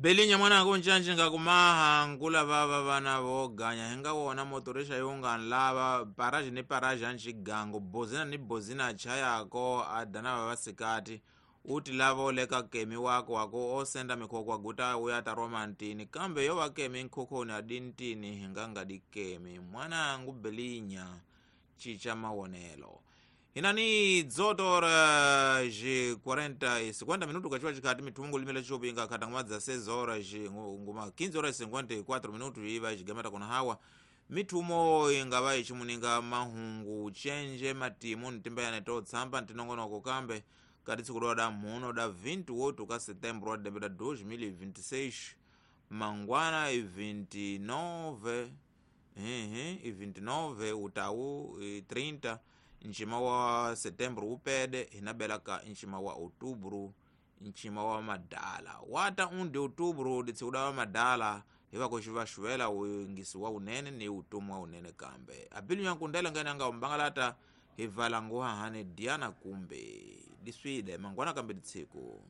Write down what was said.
Belinya mwanangu ncanci nga kumaha nkula vava vana voganya hinga wona motorisha yunga nlava paraji ni paraji anxigangu bozina ni bozina chayako adana vavasikati uti lava oleka kemi wako wako osenda mikhoko aguta uya taromantini kambe yo vakemi nkhukhuni adintini hingangadi kemi mwanangu Belinya chicha mawonelo hinani 18 horas 40 50 minuto kachiwa chikati mithungu limela chopinga khata nguma dza 6 horas nguma 15 horas 54 minuto iva ichigamata kuna hawa mithumo ingava ichimuninga mahungu chenje matimu ntimba yane totsamba ntinongonoko kambe kati tsiku loda muno da 28 ka setembro wa debeta 2026 mangwana i 29 i 29 utau i 30 nchima wa setembro upede hinabela ka nchima wa outubro nchima wa madala wata undi outubro ditsikuda wa madala hivakoxivaxuela uingisi wa unene ni utomi wa unene kambe abilu yankundela ngene anga umbangalata hivala nguhahane diana kumbe diswide mangwana kambe ditsiku.